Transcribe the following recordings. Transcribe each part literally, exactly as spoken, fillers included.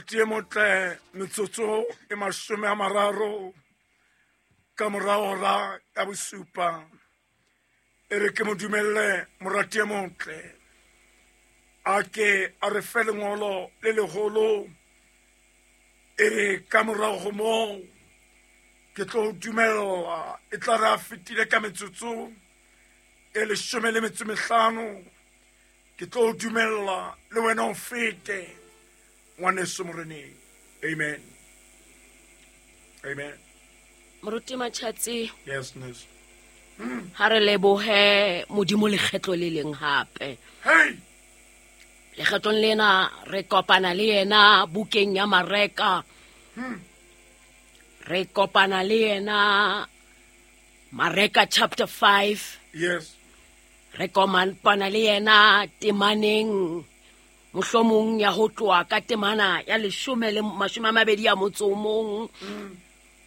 Morati e motle metsotso e mashome a mararo ka mora hora ya bosupa. E re ke mo dumelle morati e motle a ke a re fe lengolo le leholo. E re ka morao ho moo ke tlo dumella e tla re a fetile ka metsotso e leshome le metso mehlano ke tlo dumella le wena o fete ngwaneso moreneng. Amen. Amen. Moruti Matjhatsi. Yes, yes. Mm. Ha re lebohe Modimo lekgetlo le leng hape. Hey. Lekgetlong lena re kopana le yena bukeng ya Mareka. Hmm. Re kopana le yena Mareka chapter five. Yes. Re kopana le yena temaneng mohlomong ya ho tloha ka temana ya leshome le mashome a mabedi a motso o mong. Mm.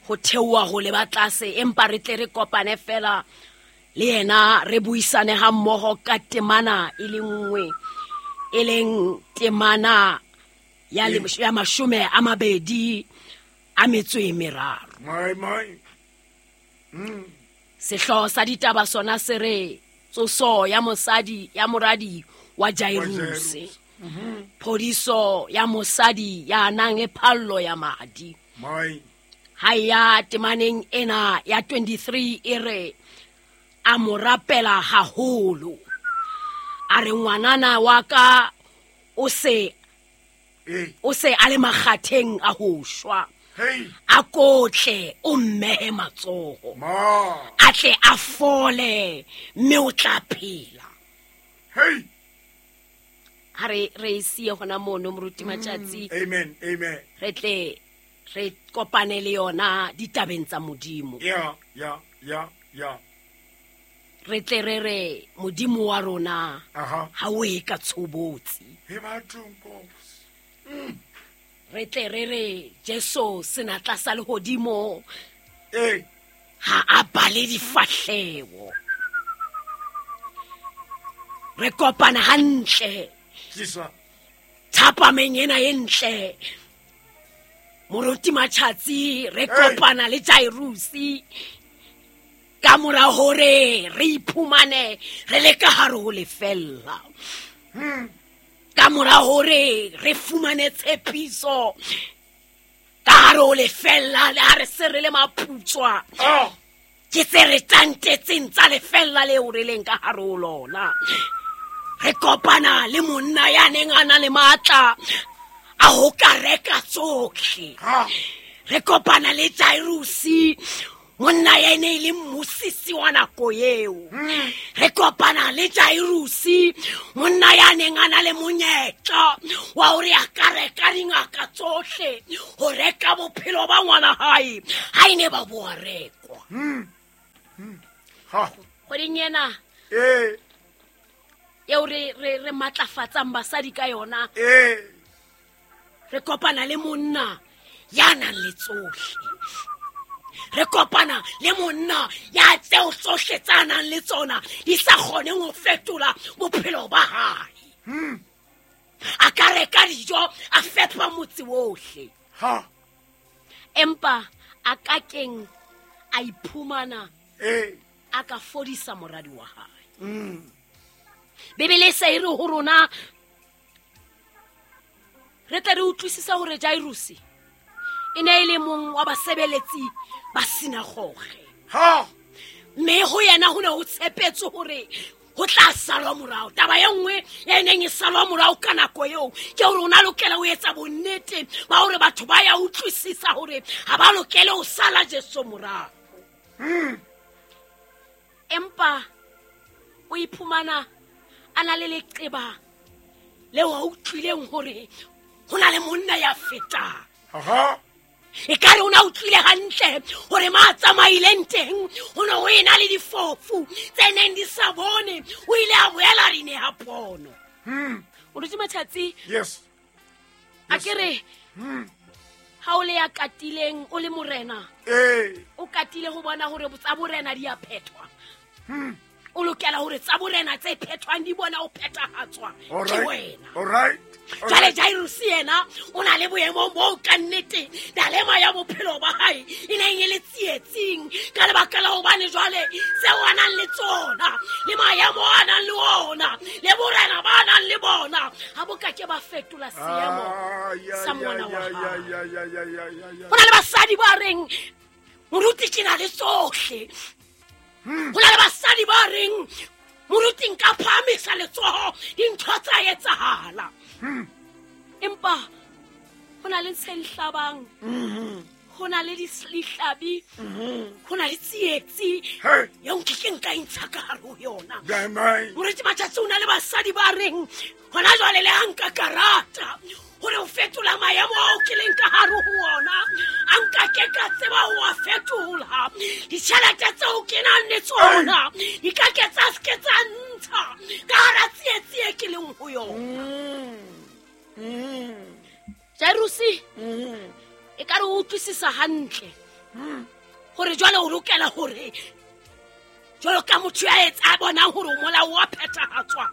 Ho theoha ho leba tlase, empa re tle re kopane fela le yena re buisane ha mmoho ka temana e le nngwe, e leng temana ya le ya mashome a mabedi a metso e meraro. My my. Mm. Sehlooho sa ditaba sona se re tsoso ya mosadi ya moradi wa Jairuse. Mm-hmm. Phodiso ya mosadi ya nang le phallo ya madi. My. Ha ya temaneng ena ya twenty-three e re a mo rapela haholo. A re ngwanana wa ka o se o se a le makgatheng a ho shwa. Hey. A kotle o mmehe matsoho. Ma. A tle a fole mme o tla phela. Hey. Ha re re siye hona mono Moruti Matjhatsi. Amen. Amen. Re tle re kopane le yona ditabeng tsa Modimo. Yeah, yeah, yeah, yeah. Re tle re re Modimo wa rona ha o e ka tshobotsi. He batho Nkosi. Mm. Re tle re re Jesu senatla sa lehodimo. Eh. Ha a bale difahleho. Re kopana hantle. Jisa. Thapameng ena e ntle. Moruti Matjhatsi re kopana le Jairusi ka mora hore re iphumane re le ka hare ho lefella. Hmm. Ka mora hore re fumane tshepiso ka hare ho lefella le ha re se re le maputswa. Oh. Ke tse re tantetseng tsa lefella leo re leng ka hare ho lona. Re kopana le monna ya neng a na le matla a ho ka reka tsohle. Re kopana le Jairusi, monna ya ene e le mmusisi wa nako eo. Re kopana le Jairusi, monna ya neng a na le monyetla wa hore a ka reka dingaka tsohle ho reka bophelo ba ngwana hae ha e ne ba boa rekwa. Ha. Kgweding ena eh eo re re re matlafatsang basadi ka yona. Eh. Re kopana le monna ya nang le tsohle. Re kopana le monna ya tseo tsohle tsa nang le tsona di sa kgoneng ho fetola bophelo ba hae. Hmm. A ka reka dijo a fepa motse wohle. Ha. Empa a ka keng a iphumana eh a ka fodisa moradi wa hae. Mm. Bibele se e re ho rona re tla re utlwisisa hore Jairusi e ne e le mong wa basebeletsi ba sinagoge. Ha. Mme ho yena ho ne ho tshepetswe hore ho tla salwa morao. Taba e nngwe ya neng e salwa morao ka nako eo ke hore o na lokela ho etsa bonnete ba hore batho ba ya utlwisisa hore ha ba lokele ho sala Jesu morao. Hmm. Empa o iphumana a na le leqeba leo a utlwileng hore ho na le monna ya fetang. Aha. E ka re o na utlwile hantle hore ma tsamaileng teng ho ne ho ena le difofu tse neng di sa bone, o ile a boela di neha pono. Hmm. Moruti Matjhatsi. Yes. A ke re hmm. ha o le ya katileng o le morena. Eh. O katile ho bona hore tsa borena di a phethwa. Hmm. O lokela hore tsa borena tse phethwang di bona o phethahatswa ke wena. All right. Jwale Jairus yena o na le boemong bo ka nnete dalema ya bophelo ba hae e neng e le tsietsing ka lebaka la hobane jwale seo a nang le tsona le maemo a nang le ona le borena ba nang le bona ha bo ka ke ba fetola seemo sa ngwana wa hae. Ho na le basadi ba reng moruti ke na le tsohle. Ho na le basadi ba reng moruti nka phahamisa letsoho dintho tsa etsahala. Empa ho na le se hlabang, ho na le dihlabi, ho na le tsietsi eo nke nka intsha ka hare ho yona. Moruti Matjatsi o na le basadi ba reng hona jwale le ha nka karata hore o fetola maemo ao ke leng ka hare ho ona, a nka ke ka tseba ho a fetola. Ditjhelete tseo ke nang le tsona di ka ke tsa se ke tsa ntsha ka hara tsietsi e ke leng ho yona. Jairusi e ka re o utlwisisa hantle hore jwale o lokela hore jwalo ka motho ya etsa bonang hore molao wa phethahatswa,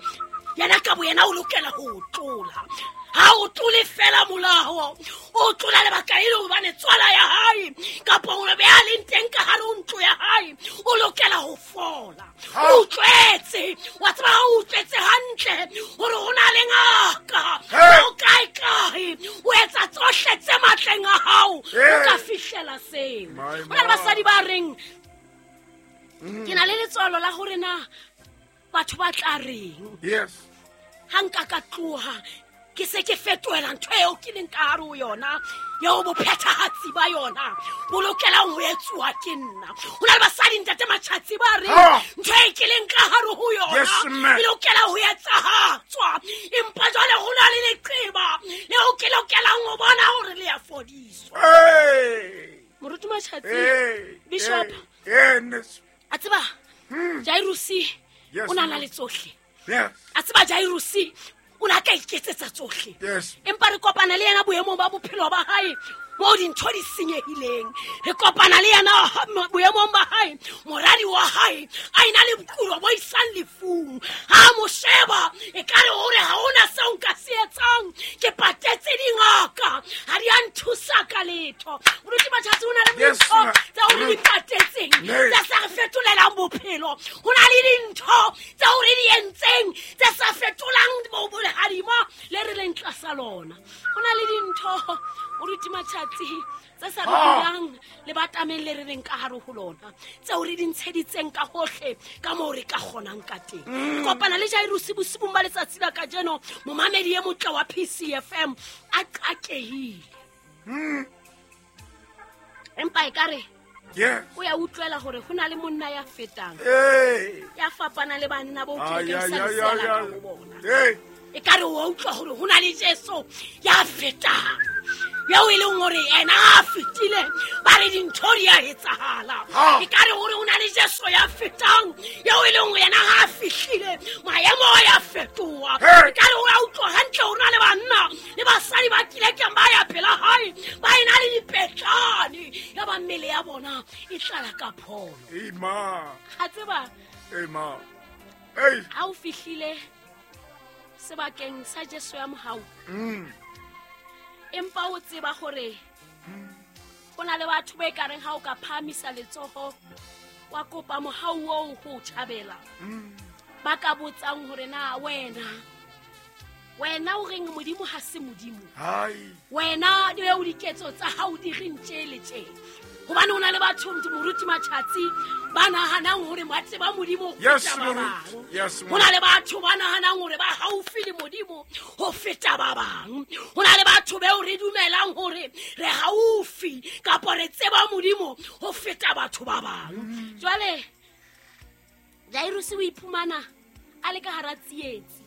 yena ka boyena o lokela ho o tlola. Ha o tlole fela molao, o tlola lebaka e le hobane tswala ya hae kapa hore be a leng teng ka hare ho ntlo ya hae o lokela ho fola. O utlwetse, wa tseba ha o utlwetse hantle hore ho na le ngaka o kae kae o etsa tsohle tse matleng a hao o ka fihlela seo. Ho na le basadi ba reng ke na le letswalo la hore na batho ba tla reng. Yes. Ha nka ka tloha ke se ke fetohela ntho eo ke leng ka hare ho yona eo bophethahatsi ba yona bo lokelang ho etsuwa ke nna. Ho na le basadi ntate Matjatsi ba reng ntho e ke leng ka hare ho yona e lokela ho etsahatswa, empa jwale ho na le leqeba leo ke lokelang ho bona hore le ya fodiswa. Moruti Matjatsi, Bishop, a tseba Jairusi o na na le tsohle. A tseba Jairusi o na ka iketsetsa tsohle. Empa re kopana le yena boemong ba bophelo ba hae moo dintho di senyehileng. Re kopana le yena boemong ba hae, moradi wa hae a ena le bokulo bo isang lefung. Ha mo sheba e ka re hore ha hona seo nka se etsang, ke patetse dingaka ha di a nthusa ka letho. Moruti Matjatsi o na le dintho tseo re di patetseng tse sa re fetolelang bophelo. Ho na le dintho tseo re di entseng tse sa fetolang bolehodimo le re leng tlasa lona. Ho na le dintho moruti Matjatsi tse sa re bulang le batameng le re leng ka hare ho lona, tseo re di ntsheditseng ka hohle ka moo re ka kgonang ka teng. Re kopana le Jairusi bosibung ba letsatsi la kajeno, momamedi e motle wa P C F M a qakehile. Empa ekare o ya utlwela hore ho na le monna ya fetang ya fapana le banna bo ke ke sa lesela ka ho bona. E ka re o utlwa hore ho na le Jesu ya fetang eo e leng hore ena a fetile ba re dintho di a etsahala. E ka re hore ho na le Jesu ya fetang eo e leng hore yena ha a fihlile maemo a ya fetoha. E ka re o a utlwa hantle hore na le banna le basadi ba kilekeng ba ya pela hae ba ena le dipetlane ya ba mmele ya bona e tlala ka pholo. Ha tseba ha o fihlile sebakeng sa Jesu ya mohau, empa o tseba hore ho na le batho ba ekareng ha o ka phahamisa letsoho wa kopa mohau oo ho tjhabela, ba ka botsang hore na wena wena o reng Modimo ha se Modimo, wena le o diketso tsa hao di reng tje le tje. Hobane ho na le batho moruti Matjatsi ba nahanang hore ba tseba Modimo ho feta ba bang. Ho na le batho ba nahanang hore ba haufi le Modimo ho feta ba bang. Ho na le batho beo re dumelang hore re haufi kapa re tseba Modimo ho feta batho ba bang. Jwale Jairusi o iphumana a le ka hara tsietsi.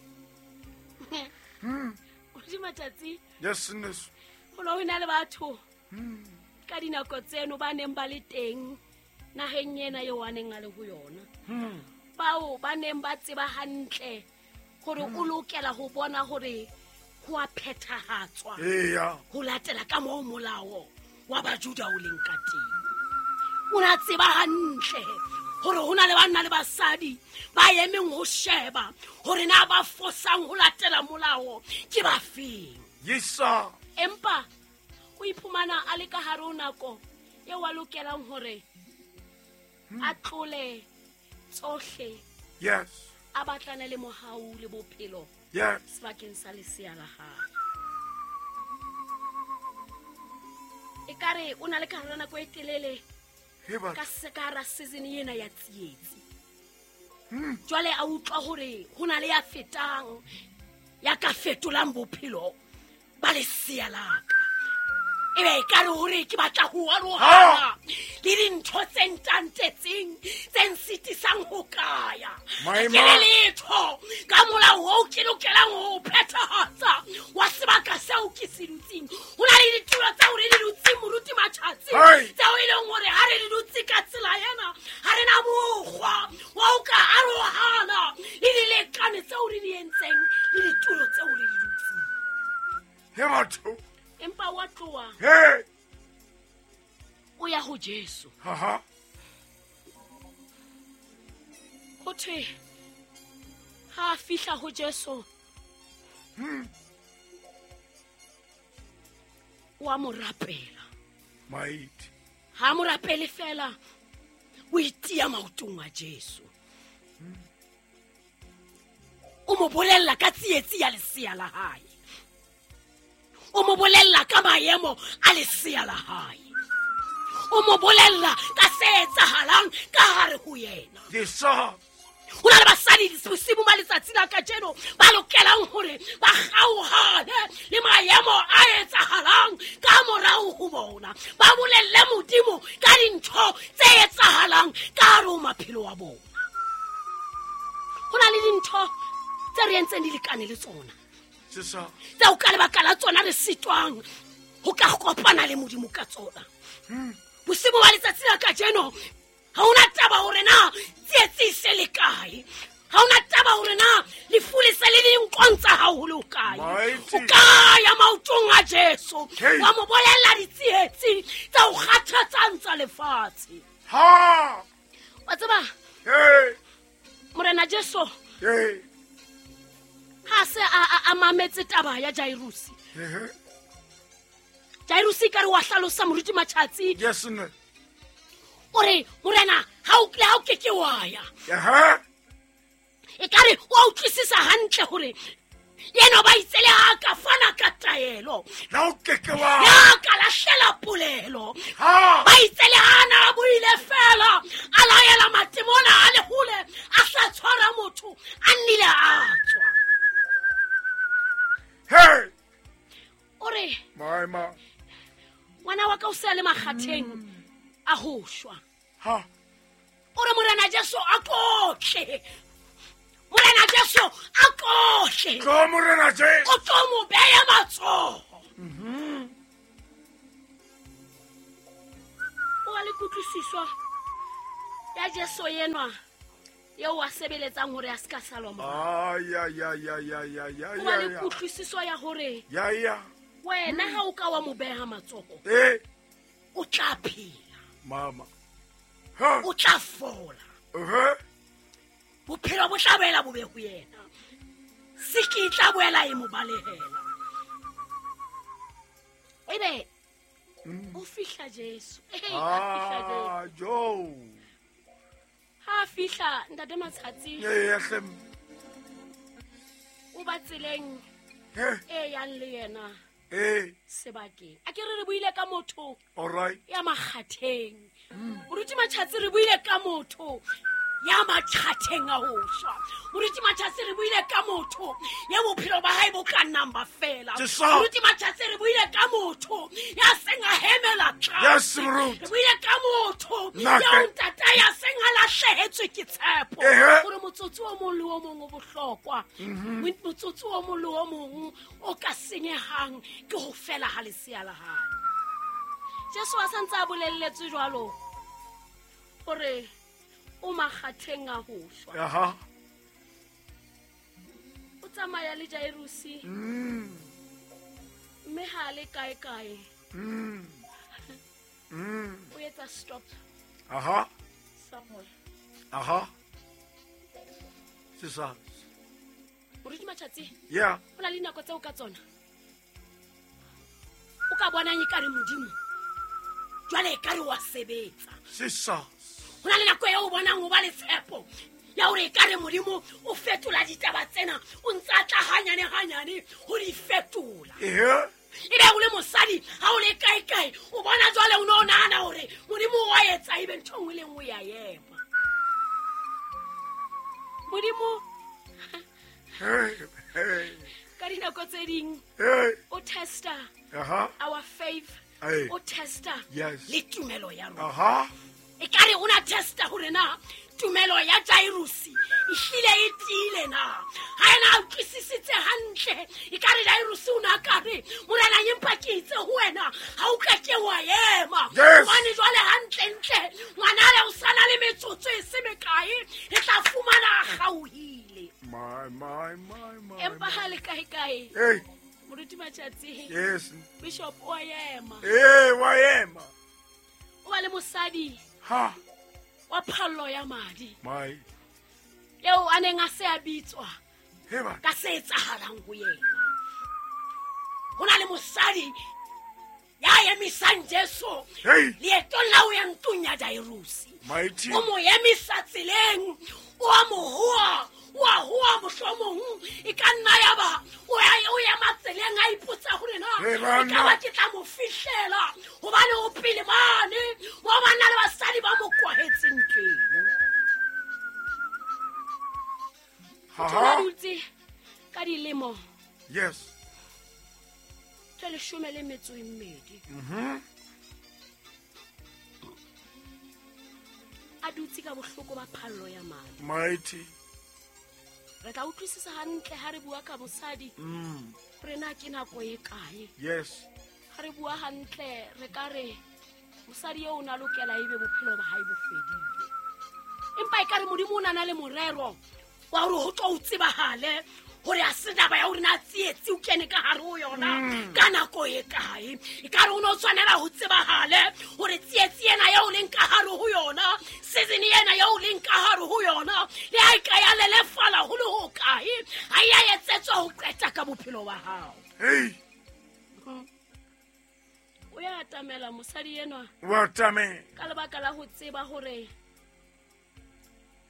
Moruti Matjatsi, yes, yes. Ho na le batho ka dinako tseno ba neng ba le teng naheng ena eo a neng a le ho yona, bao ba neng ba tseba hantle hore o lokela ho bona hore ho a phethahatswa ho latela ka moo molao wa Bajuda o leng ka teng. O na tseba hantle Hore ho na le banna le basadi ba emeng ho sheba hore na ba fosang ho latela molao ke ba feng. Yes sir. Empa o iphumana a le ka hare ho nako eo a lokelang hore a tlole tsohle. Yes. A batlane le mohau le bophelo. Yes. Sebakeng sa lesea la hae. Ekare o na le ka hare nako e telele ka sekara season ena ya tsietsi. Jwale a utlwa hore ho na le ya fetang ya ka fetolang bophelo ba lesea la ka. Ebe e ka re hore ke batla ho arohana le dintho tse ntantetseng tse nsitisang ho kaya. Ke le letho ka molao oo ke lokelang ho phethahatsa wa sebaka seo ke se dutseng. Ho na le ditulo tseo re di dutseng moruti Matjhatsi tseo e leng hore ha re di dutse ka tsela ena ha re na mokgwa wa ho ka arohana le dilekane tseo re di entseng le ditulo tseo re di dutseng. He batho. Empa wa tloha. Hey. O ya ho Jesu. Ha ha. Ho thwe ha fihla ho Jesu. Hmm. Wa mo rapela. Mait. Ha mo rapele fela o itia maotong a Jesu. Hmm. O mo bolella ka tsietsi ya lesea la hae. O mo bolella ka maemo a lesea la hae. O mo bolella ka se etsahalang ka hare ho yena. Yes sir. Ho na le basadi bosibu ba letsatsi la kajeno ba lokelang hore ba kgaohane le maemo a etsahalang ka morao ho bona. Ba bolelle Modimo ka dintho tse etsahalang ka hare ho maphelo a bona. Ho na le dintho tse re entseng di lekane le tsona. Tseo ka lebaka la tsona re sitwang ho ka kopana le Modimo ka tsona. Bosibu ba letsatsi la kajeno ha hona taba hore na tsietsi se le kae. Ha hona taba hore na lefu le se le dinkontsa haholo kae. O ka ya maotong a Jesu wa mo bolella ditsietsi tsa ho kgathatsang tsa lefatshe. Ha! Wa tseba? Hey! Morena Jesu. Hey! Ha se a a mametse taba ya Jairusi. Ehe. Jairusi ka re wa hlalosa moruti Matjhatsi. Yes nne. O re morena ha o ha o ke ke wa ya. Ehe. E ka re wa utlwisisa hantle hore yena ba itsele ha ka fana ka taelo. La o ke ke wa. Ya ka lahlela polelo. Ha. Ba itsele ha na buile fela a laela matimona a le hole a sa tshwara motho a nnile a tswa. Hey! Ore. My ma. Ngwana wa ka o se le makgatheng a ho shwa. Ha. Ore morena Jesu a kotle. Morena Jesu a kotle. Tlo morena Jesu. O tlo mo beya matsoho. Mhm. O a le kutlwisiswa ya Jesu yenwa eo a sebeletsang hore a se ka salwa morao. Ay ay ay ay ay ay ay. O ba le kutlwisiso ya hore Ya ya. wena ha o ka wa mo beha matsoho. Eh. O tla phela. Mama. Ha. O tla fola. Eh. Bophelo bo tla boela bo be ho yena. Siki tla boela e mo balehela. Ebe o fihla Jesu. Eh, a fihla Jesu. Ah, jo. Ha fihla ntate Matjhatsi. Eh, hle. O ba tseleng e yang le yena. Eh. Sebakeng. A ke re re buile ka motho. All right. Ya makgatheng. Moruti Matjhatsi re buile ka motho ya makgatheng a ho shwa. Moruti Matjhatsi re buile ka motho ya bophelo ba hae bo ka nnang ba fela. Moruti Matjhatsi re buile ka motho ya seng a hemela tlase. Yes, moruti. Re buile ka motho ya ntata ya seng a lahlehetswe ke tshepo. Hore motsotso o mong le o mong o bohlokwa. Motsotso o mong le o mong o ka senyehang ke ho fela ha lesea la hae. Jesu a santse a bolelletswe jwalo hore o makgatheng a ho shwa. Aha. O tsamaya le Jairusi. Mm. Mme ha le kae kae. Mm. Mm. O etsa stop. Aha. Somewhere. Aha. Jesus. Moruti Matjatsi. Yeah. Ho na le dinako tseo ka tsona o ka bonang ekare Modimo jwale ekare wa sebetsa. Jesus. Ho na le nako eo o bonang ho ba le tshepo ya hore ekare Modimo o fetola ditaba tsena, o ntse a tla hanyane hanyane ho di fetola. Ehe. Ebe o le mosadi ha o le kae kae o bona jwale o no nahana hore Modimo wa etsa ebe ntho e nngwe le nngwe ya ema. Modimo Hey, hey. ka dinako tse ding Hey. o testa Aha. our faith, Hey. o testa Yes. le tumelo ya rona. Aha. E kare o na testa hore na tumelo ya Jairusi e hlile e tiile na. Ha ena a utlwisisitse hantle, e kare Jairusi o na kare morena empa ke itse ho wena ha o ka ke wa ema. Yes. Hobane jwale hantle ntle ngwana le o sana le metsotso e se mekae re tla fumana a kgaohile. My, my, my, my. Empa ha le kae kae Hey. Moruti Matjatsi. Yes. Bishop o a ema. Hey, wa ema. O ba le mosadi Ha. wa phallo ya madi My. eo a neng a se a bitswa Heba. ka se etsahalang ho yena. Ho na le mosadi ya emisang Jesu Hey. leetong la ho ya ntlong ya Jairusi. Mighty. O mo emisa tseleng, o a mo hoa, o a hoa mohlomong e ka nna ya ba o ya o ema tseleng a ipotsa hore na Hey, e ka banna. ba ke tla mo fihlela hobane o pele mane mo banna le basadi ba mo kwahetseng teng. Ha Motho a ha. dutse ka dilemo Yes. tse leshome le metso e mmedi. Mhm. A dutse ka bohloko ba phallo ya madi. Mighty. Re tla utlwisisa hantle ha re bua ka mosadi Mm. hore na ke nako e kae. Yes. Ha re bua hantle re ka re mosadi eo o na lokela ebe bophelo ba hae bo fedile. Empa ekare Modimo o na na le morero wa hore ho tlo o tsebahale hore a se taba ya hore na tsietsi o kene ka hare ho yona ka nako e kae. Ekare o no tshwanela ho tsebahale hore tsietsi ena eo o leng ka hare ho yona, season ena eo o leng ka hare ho yona, le ha e ka ya lelefala ho le ho kae, ha e a etsetswa ho qeta ka bophelo ba hao. Hey. O ya atamela mosadi enwa Wa atamela. ka lebaka la ho tseba hore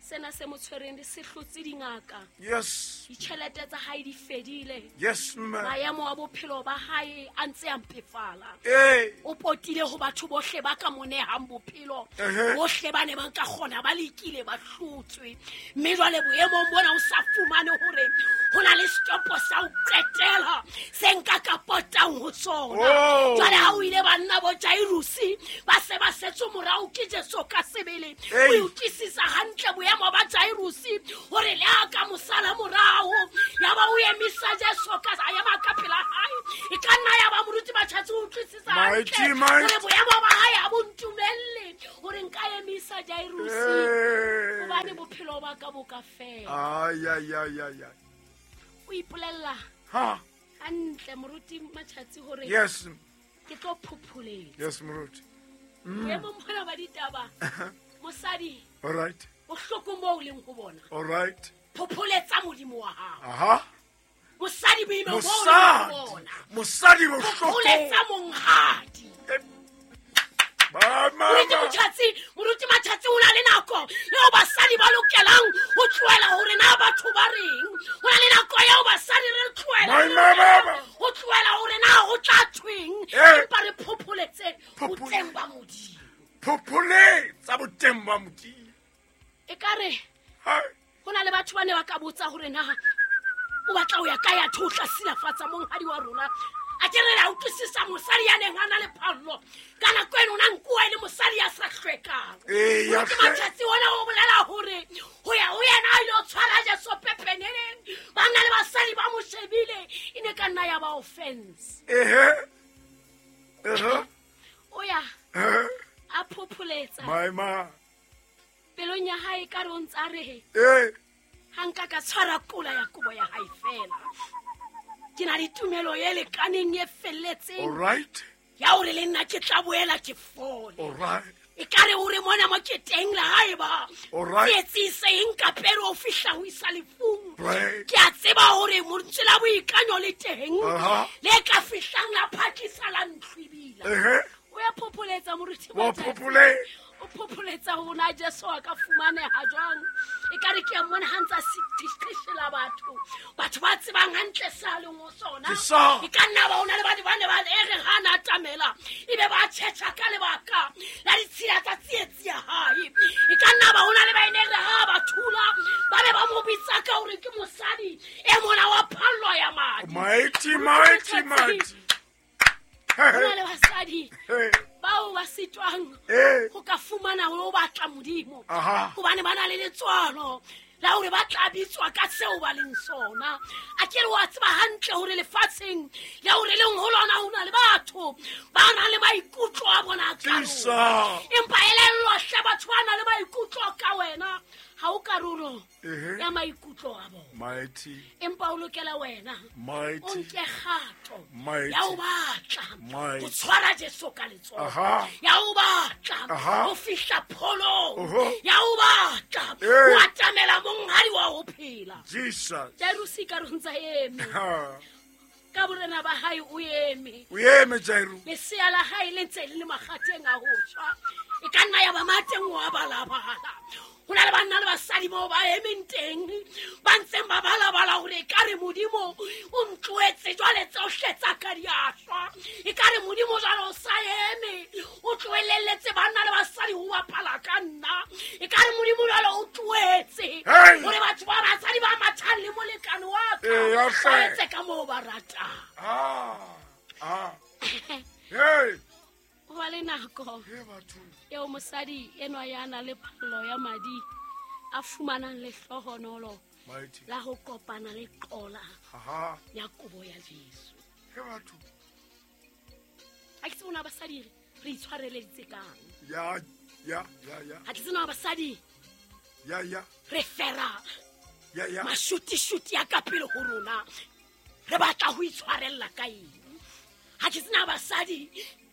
sena se mo tshwereng di se hlotse dingaka. Yes. Ditjhelete tsa hae di fedile. Yes, ma'am. Maemo a bophelo ba hae a ntse a mpefala. Hey. O potile ho batho bohle ba ka mo nehang bophelo. Ehe. Bohle ba ne ba nka kgona ba lekile ba hlotswe. Mme jwale boemong bona o sa fumane hore ho na le setopo sa ho qetela se nka ka potang ho sona. Oh. Jwale ha o ile banna bo Jairusi ba se ba setse morao ke Jesu ka sebele. Hey. O utlwisisa hantle boemo ba Jairusi hore le ha ka mosala morao ya ba o emisa Jesu ka a ema ka pela hae. E ka nna ya ba moruti Matjatsi o utlwisisa Mighty, hantle mighty. hore boemo ba hae ha bo ntumelle hore nka emisa Jairusi Hey. hobane bophelo ba ka bo ka fela. Ay, ay, ay, ay, ay. O ipolella Ha. hantle moruti Matjatsi hore Yes. ke tlo phopholetsa. Yes, moruti. Boemong bona ba ditaba mosadi All right. bohlokong bo o leng ho bona All right. phopholetsa Modimo wa hao. Aha. Mosadi boemong bo o leng ho Mosadi. bona Mosadi bohlokong. phopholetsa monghadi. Ba Moruti mama. Motjhatsi, Moruti Matjhatsi o na le nako eo basadi ba lokelang ho tlohela hore na batho ba reng. Ho na le nako eo basadi re tlohela My mama. ho tlohela hore na ho tla thweng. Eh. Empa re phopholetse Phophole- boteng ba Modimo. Phopholetsa boteng ba Modimo. Ekare Ha. ho na le batho ba ne ba ka botsa hore na o batla ho ya kae athe o tla silafatsa monghadi wa rona. A ke re la utlwisisa mosadi ya neng a na le phallo ka nako eno o na nkuwa e le mosadi ya sa hlwekang. Ee, ya Moruti hlwe- Matjhatsi ona o bolela hore ho ya ho yena a ilo tshwara Jesu pepeneneng, banna le basadi ba mo shebile, e ne ka nna ya ba offense. Ehe. Ehe. O ya Ehe. a phopholetsa My ma. pelong ya hae ka re o ntse a re Eh. ha nka ka tshwara kola ya kobo ya hae fela. Ke na le tumelo e lekaneng e felletseng All right. ya hore le nna ke tla boela ke fole. All right. E ka re o re mona mo ke teng le haeba tsietsi se eng ka pele o fihla ho isa lefung. Ke a tseba hore montswe la boikanyo le teng le ka fihlang la phakisa la ntlhwibila. O ya phopholetsa moruti wa phophole o phopholetsa hona Jesu a ka fumaneha jwang. E ka re ke a mmona ha ntsa sitishela batho batho ba tsebang hantle sa leng ho sona. E ka nna ba ona le batho ba ne ba e re ha na tamela ebe ba tjhetjha ka lebaka la ditshila tsa tsietsi ya hae. E ka nna ba ona le ba ene re ha ba thula ba be ba mo bitsa ka hore ke mosadi e mona wa phallo ya madi. Mighty mighty mighty. Hona le basadi bao ba sitwang ho ka fumana ho batla Modimo hobane ba na le letswalo la hore ba tla bitswa ka seo ba leng sona. A ke re wa tseba hantle hore lefatsheng le hore leng ho lona ho na le batho ba nang le maikutlo a bona ka rona. Empa elellwa hle batho ba nang le maikutlo ka wena ha o karolo ya maikutlo a bona. Mighty. Empa o lokela wena mighty o nke kgato mighty ya o batla mighty ho tshwara Jesu ka letsoho ya o batla ho fihla pholong ya o batla ho atamela monghadi wa ho phela. Jesus. Jairusi ka re ntsa eme ka borena ba hae o eme o eme Jairu lesea la hae le ntse le makgateng a ho shwa. E ka nna ya ba mateng wa balabala. Ho na le banna le basadi moo ba emeng teng ba ntseng ba balabala hore e ka re Modimo o ntlohetse jwale tsohle tsa ka di a shwa. E ka re Modimo jwale o sa eme o tlohelletse banna le basadi ho bapala ka nna. E ka re Modimo jwale o tlohetse hore batho ba basadi ba mathang le molekane wa ka ba etse ka moo ba ratang. Ah ah hey o ba le nako eo mosadi enwa ya na le phallo ya madi a fumanang lehlohonolo la ho kopana le qola ya kobo ya Jesu. He batho ha ke tsebona basadi re itshwareleditse kang. Ya ya ya ya ha ke tsebona basadi ya ya re fera ya ya mashutishuti ya ka pele ho rona re batla ho itshwarella ka eng. Ha ke tsena basadi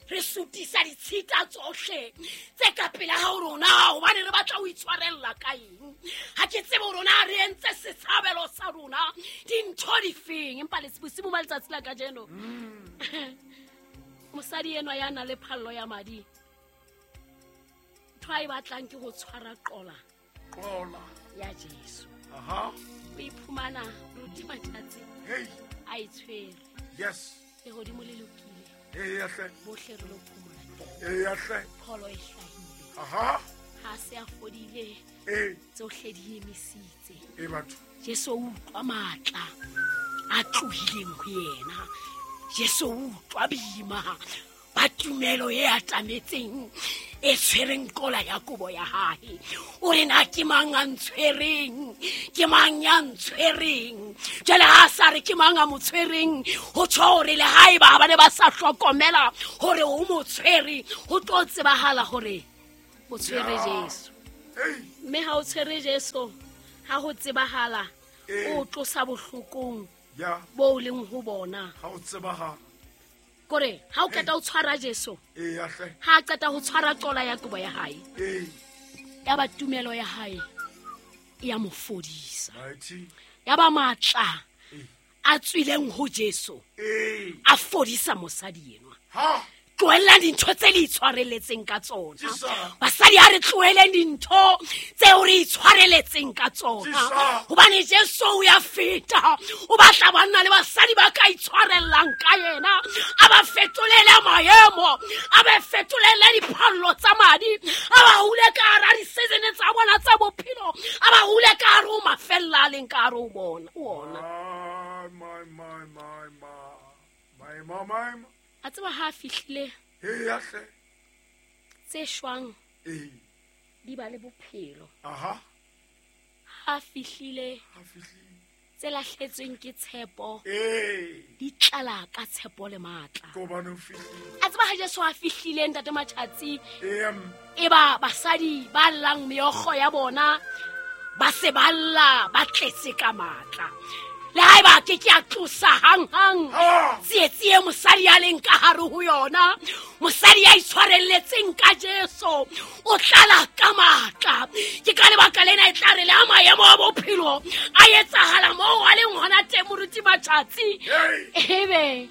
re sutisa ditshita tsohle tse ka pele ha rona hobane re batla ho itshwarella ka eng. Ha ke tsebe rona re entse setshabelo sa rona dintho difeng. Empa le bosibu ba letsatsi la kajeno mosadi enwa ya na le phallo ya madi ntho a e batlang ke ho tshwara qola qola ya Jesu. Aha o iphumana Ruti Mathatsi hey a e tshwere. Yes lehodimo le lokile. Eya hle bohle re lo phomola teng. Eya hle pholo e hlahile. Aha ha se a fodile eh tsohle di emisitse. E batho Jesu o utlwa matla a tlohileng ho yena. Jesu o utlwa boima ba tumelo e atametseng e tshwereng qola ya kobo ya hae. O re na ke mang a ntshwereng, ke mang ya ntshwereng. Jwale ha sa re ke mang a mo tshwereng, ho tjho hore le haeba ba ne ba sa hlokomela hore o mo tshwere, ho tlo tsebahala hore o tshwere Jesu. Mme ha o tshwere Jesu, ha ho tsebahala o tlosa bohlokong bo leng ho bona. Ha o tsebahala kore ha o qeta ho tshwara Jesu eh hle ha qeta ho tshwara qola ya kobo ya hae eh ya ba tumelo ya hae e ya mo fodisa mighty ya ba matla a tswileng ho Jesu eh a fodisa mosadi enwa. Ha tlohella dintho tse le itshwareletseng ka tsona. Basadi ha re tloheleng dintho tseo re itshwareletseng ka tsona hobane Jesu o ya feta o batla banna le basadi ba ka itshwarellang ka yena a ba fetolele maemo a ba fetolele diphallo tsa madi a ba hule ka hara di-season tsa bona tsa bophelo a ba hule ka hare ho mafella a leng ka hare ho bona ona. My my my my my my A tseba ha fihlile eya hle tse shwang eh di ba le bophelo. Aha ha fihlile ha fihlile tse lahletsweng ke tshepo eh di tlala ka tshepo le matla. Ko bana o fihlile. A tseba ha Jesu a fihlile ntate Mathatsi eh e ba basadi ba llang meokgo ya bona ba se ba lla ba tletse ka matla. Le haeba ke ke a tlosa hang-hang tsietsi e mosadi a leng ka hare ho yona, mosadi ya itshwarelletseng ka Jesu o tlala ka matla. Ke ka lebaka lena e tla re le ha maemo a bophelo a etsahala moo a leng hona teng, moruti Matjatsi, ebe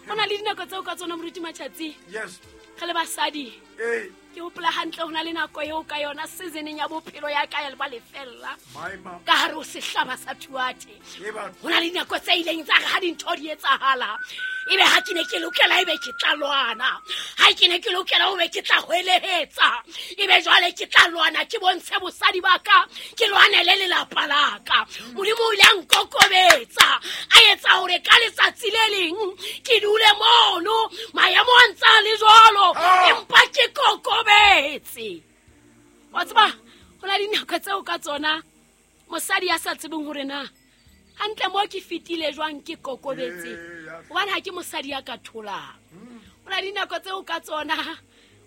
ho na le dinako tseo ka tsona, moruti Matjatsi, Yes. re le basadi, Hey. ke hopola hantle ho na le nako eo ka yona seasoneng ya bophelo ya ka ya ba lefella My mama. ka hare ho sehlaba sa Thuate. Ye batho. Ho na le dinako tse ileng tsa re ha dintho di etsahala, ebe ha ke ne ke lokela ebe ke tla lwana, ha ke ne ke lokela ho be ke tla hwelehetsa, ebe jwale ke tla lwana, ke bontshe bosadi ba ka, ke lwanele lelapa la ka. Modimo o ile a nkokobetsa, a etsa hore ka letsatsi le leng ke dule mono, maemo a ntse a le jwalo, Ah. empa ke kokobetse. Wa tseba, ho na le dinako tseo ka tsona mosadi ya sa tsebeng hore na hantle mo ke fetile jwang ke kokobetse, Ee, ya. hobane ha ke mosadi ya ka tholang. Ho na le dinako tseo ka tsona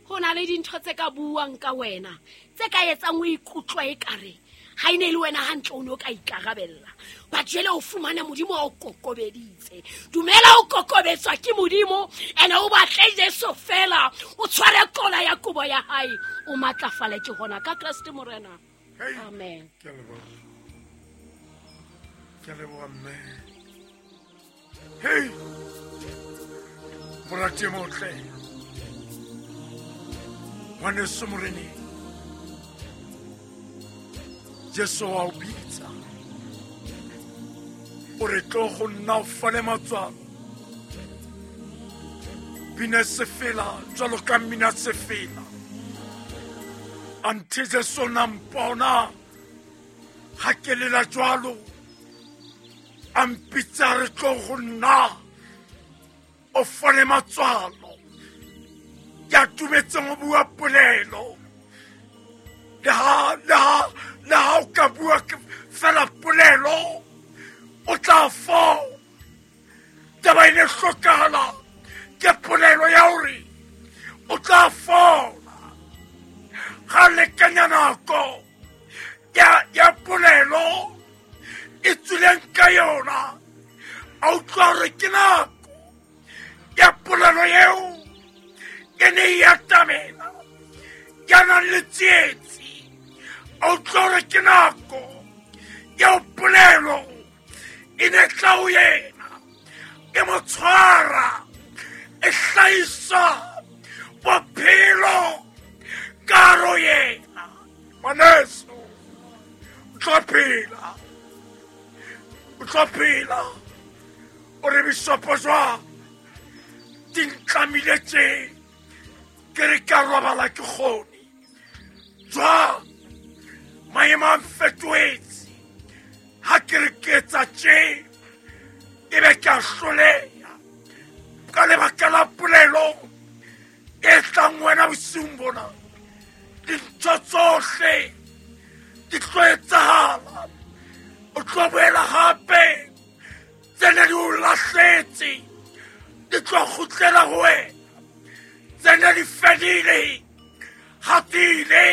ho na le dintho tse ka buang ka wena tse ka etsang o ikutlwa ekare ha e ne e le wena hantle o ne o ka ikarabella, but jwale o fumana Modimo a o kokobeditse. Dumela o kokobetswa ke Modimo, ene o batle Jesu fela, o tshware kola ya kobo ya hae, o matlafale ke hona ka Kreste Morena. Hey. Amen. Ke a leboha. Ke a leboha mme. Hey. Morati e motle. Ngwaneso Moreneng. Jesu wa o bitsa. O re tlo go nna o fane matswalo. Bina sefela jwalo ka mmina sefela. Anthe Jesu na mpona ha ke lela jwalo, a mpitsa re tlo go nna o fane matswalo. Ke a dumetseng ho bua polelo. Le ha, le ha, le ha o ka bua ke fela polelo, o tla fola. Taba e ne hlokahala ke polelo ya hore o tla fola. Ga lekanya nako ya, ya polelo e tswileng ka yona, a utlwa hore ke nako ya polelo eo e ne e atamela, ya nang le tsietsi. A utlwa hore ke nako eo polelo e ne tla ho yena, e mo tshwara, e hlahisa bophelo ka hare ho yena. Ngwaneso, o tlo phela, o tlo phela. O re bishopo jwang di ntlamile tje, ke re ka robala ke kgone jwang, maemo a mfetohetse, ha ke re ke etsa tje ebe ke a hloleha ka lebaka la polelo e tlang wena bosiung bona. Dintho tsohle di tlo etsahala, o tlo boela hape, tse ne di o lahletse di tlo kgutlela ho wena, tse ne di fedile ha di ile.